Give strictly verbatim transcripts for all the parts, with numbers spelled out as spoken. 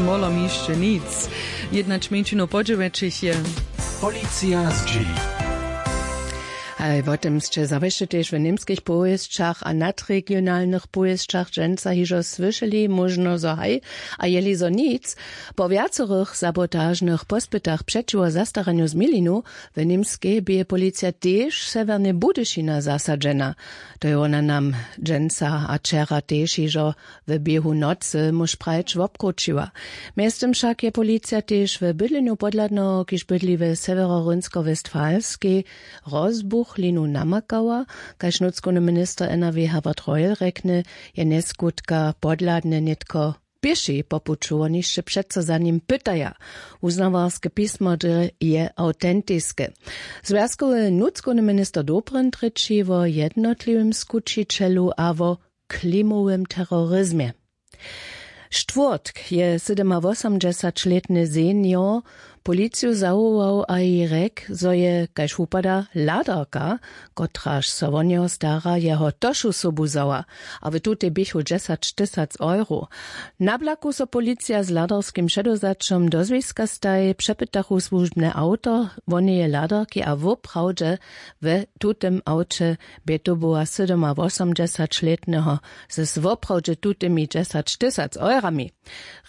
Molom hišće nic. Jednać mjeńšinu po dźewjećich je. Policija zdźěli. A wo tym sće zawěsće tež w němskich powěsćach a nadregionalnych powěsćach dźensa hižo słyšeli, móžno zo haj, a jeli zo nic. Po wjacorych sabotažnych pospytach přećiwo zastaranju z milinu w němskej bě policija tež sewjerne budyšina zasadźena. To je wona nam dźensa a wčera tež hižo w běhu nocy, móž prajć, wobkrućiła. Mjeztym wšak je policija tež w bydlenju podhladneho, kiž bydli w sewjeroryńsko-westfalskej, rozbuchlinu namakała. Kaž nutřkowny minister N R W Herbert Reul rjekny, je njeskutka podhladne nětko pěši po puću, woni sće přeco za nim pytaja. Wuznawarske pismo drje je awtentiske. Zwjazkowy nutřkowny minister Dobrindt rěči wo jednotliwym skućićelu a wo klimowym terorizmje. Štwórtk je sydomawosomdźesaćlětny senior policiju zawołał a jej rjekł, zo je, kaž wupada, hladarka, kotraž so wo njeho stara, jeho tošu sobu wzała, a w tutej běchu dźesaćtysac euro. Na blaku so policija z hladarskim předewzaćom do zwiska staji, přepytachu słužbne awto woneje hladarki a woprawdźe w tutym awće bě to była sydomawosomdźesaćlětneho z woprawdźe tutymi dźesaćtysac eurami.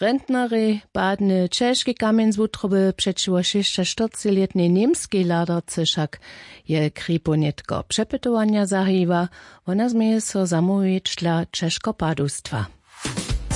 Rentnarjej padny ćežki kamjeń z wutroby. Přećiwo šěsćaštyrcilětnej němskej hladarce wšak je Kripo nětko přepytowanja zahajiła. Wona změje so zamołwić dla ćežkopadustwa.